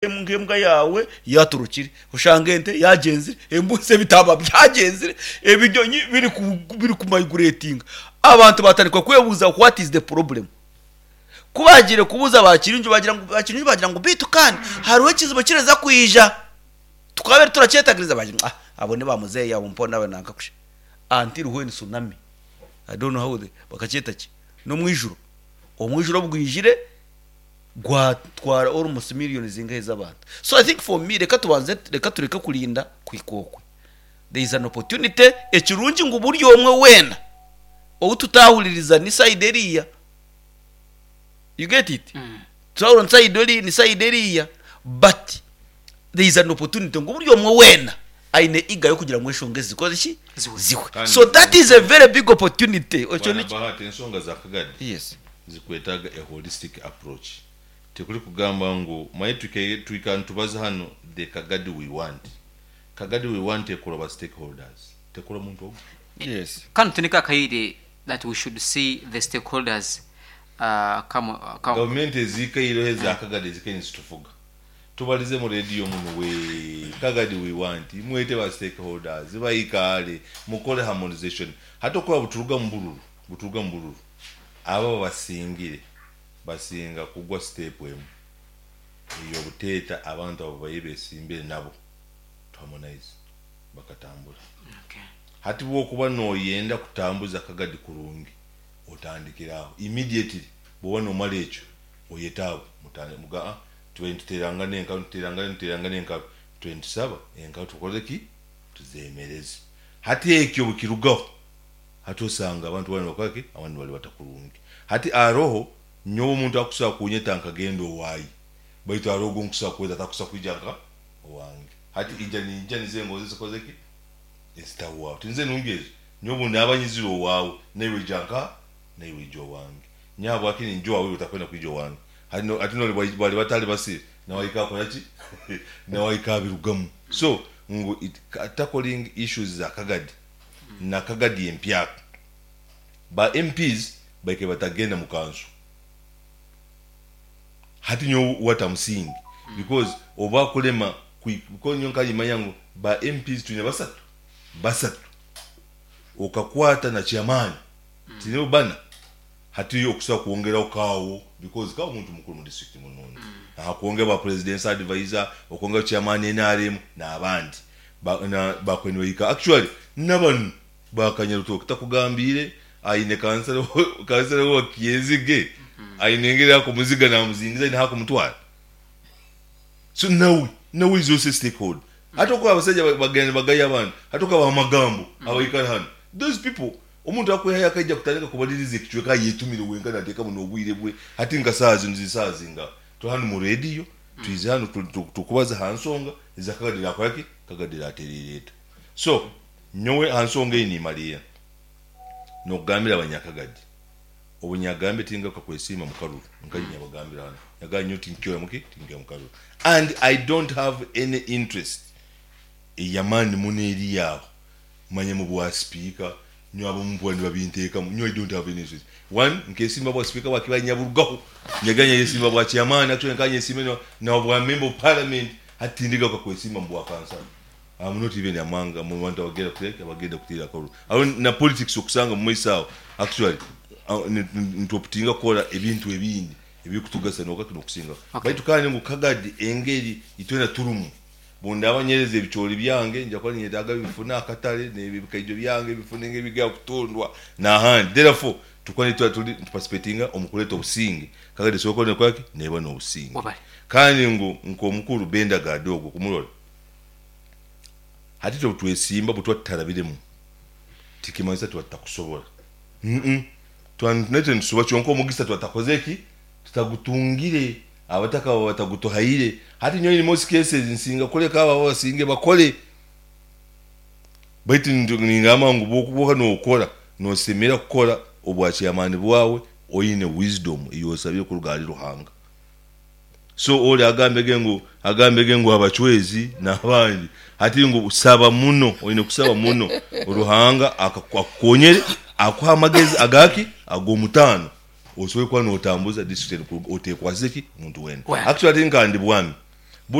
Nk'embwa yaawe yaatorokire, oshanga ente yaagyenzire, embuzi, ebitaama byagyenzire, ebinyonyi birikumaigureetinga. Abantu baatandika kwebuuza what is the problem? Ku baagiire kubuuza ba Kirungi baagira ngu ba Kirungi baagira ngu beitu kandi hariho ekizibu ekirikuza kwija tukabaire turakyetagiriza baagira ngu ah abo ni ba muzeeyi abo mpona abo nanka kusha until when tsunami I don't know how they bakakyeta ki n'omwijuro, omwijuro obu gwijire gwatwara almost million zingahi z'abantu. So I think for me reka tubanze reka tureke kurinda kuhika okwe. There is an opportunity ekirungi ngu buri omwe weena ou tutahuririza ni side eriiya. You get it? Tutahurira ni side ori ni side eriiya but there is an opportunity ngu buri omwe weena aine eager y'okugira ngu enshonga ezi zikore ki? Zihwe. Zihwe. Kandi So that is a very big opportunity. Ekyo Bwana nikyo. Bahati ensonga za Kagadi Yes. Zikwetaaga a holistic approach. Tikuri kugamba ngu manye twikara nitubaza hanu the Kagadi we want. Kagadi we want ekora ba stakeholders tekora muntu ogu. Yes. Kanu tiniko akaire that we should see the stakeholders come come. Gavumenti eziikaireho eza Kagadi ezikaire nizitufuga tubarize mu radio munu wee Kagadi we want mwete ba stakeholders baikaare mukore harmonization. Hati okuba buturuga mubururu buturuga mubururu. Abo abasingire basinga kugwa sitepu emu ey'obuteeta abantu abu babaire besimbire nabo to harmonize bakatambura. Hati bwokuba noyenda kutambuza akagadi kurungi otandikira aho immediately bwoba nomara ekyo oyete abo mutandike mugambe ah tubaire nituterangana enkabi nituterangana nituterangana enkabi tubaire nitusaba enkabi tukore ki tuzemereze. Hati ekyo obukirugaho Hati osanga abantu boona nibakora ki? Abandi nibaribata kurungi. Hati haroho nyowe omuntu akusobora kunyeta nkagenda owaye, baitu haroho ogu nkusobora kweta atakusobora kwija nka owange. Hati ija niija nizo engonzi ezikoze ki? Ezitahwaho. Tinizo enungi ezo? Nyowe obu ndaaba nyizire owaawe, naiwe ija nkaha? Naiwe ija owange. Nyowe habwaki ninja owaawe iwe otakwenda kwija owange? Hati no, hati nori bari bataribasire, nawe ahika akora ki? Nawe ahika abirugamu. So ngu it, tackling issues za Kagadi na Kagadi empyaka, ba MPs baikaire batagenda mu kanso. Hati nyowe what am seeing because oba kulema because nyowe nkaba nimanya ngu ba MPs twine basatu, basatu okakwata na chairman tinibo bana hati okusobola kwongeraho kaawo because kaawo muntu mukuru mu district munungi aha kwongera ba president's advisor okwongeraho chairman NRM n'abandi. Ba, na, bakubaire nibahika. Actually, nabanu ba Kanyarutoki takugambiire aine kansara, kansara wa Kyenzige aine engeri akumuziga namuzingiza aine ahakumutwara. So nawe, nawe is also a stakeholder. Hati okuba abasaija bagenda nibagaya abandi, hati okaba amagambo abaikara hanu. Those people, omuntu akwehayo akaija kutandika kubaliriza ekicweka ayetumire wenka nateekamu n'obwire bwe. Hati nka saaha zinu ziri saaha zingaha? Turi hanu mu rediyo, twize hanu turikubaza aha nsonga eza Kagadi erakora ki? Kagadi eratereire eta? So, nyowe aha nsonga eyi nimariira n'okugambira abanyakagadi, obu nyagambire tingaruka kwesiima mu karuru, nkaija nyabagambira hanu, nyagamba nyowe tinkyoya muki? Tinkyoya mu karuru and I don't have any interest ey'amaani muno eri aho manya mu bwa sipiika, Nyowe abamu mpurira nibabinteekamu, nyowe I don't have any interest. One, nkesimba bwa sipiika bwa Kibale nyaburugaho, nyagira nyayesimba bwa chairman, actually nkaba nyesimba na bwa member of parliament, hati tindigaruka kwesimba mu bwa kansala. I'm not even among mu bantu abagenda kuteera ki, abagenda kuteera akaruru. Aho na politics okusanga mu maiso aho, actually nituoputinga kukora ebintu ebindi ebirikutugasa n'okusingaho. Baitu kandi ngu Kagadi engeri itwena turimu, Obu ndaaba nyereza ebicoori byange, nja kuba ninyetaaga bifune akatare, n'ebikaijo byange bifune nk'ebigya kutundwa n'ahandi. Therefore, tukuba nitwe turi nituparticipatinga omu kureeta obusinge, Kagadi esobole kuba neekora ki? Neeba n'obusinge. Webale. Kandi ngu nk'omukuru Bendagadi ogwo kumurora, hati itwe obu twesimba obu tuba tutarabiremu, tikimanyisa tuba tutakusobora. Umm. Tuba naitwe nitusoba kyonka omugisa tuba tutakozire ki? Tutagutungire. Abataka baba batagutuhaire. Hati nyowe in most cases nsinga kuleka abo abasinge bakole. Baitu ningamba ngu bwokuba nokora, nosemera kukora obwa chairman bwawe oine wisdom eyosabire kuruga ahari Ruhanga. So ori agambege ngu agambege ngu abachwezi nabandi hati ngu saba muno, oine kusaba muno Ruhanga akukonyere akuhe amagezi agaki agomutaano. Osobole kuba notambuza district enu kuruga otekwasize ki? Muntu weena. Well. Actually nka ndi bwami.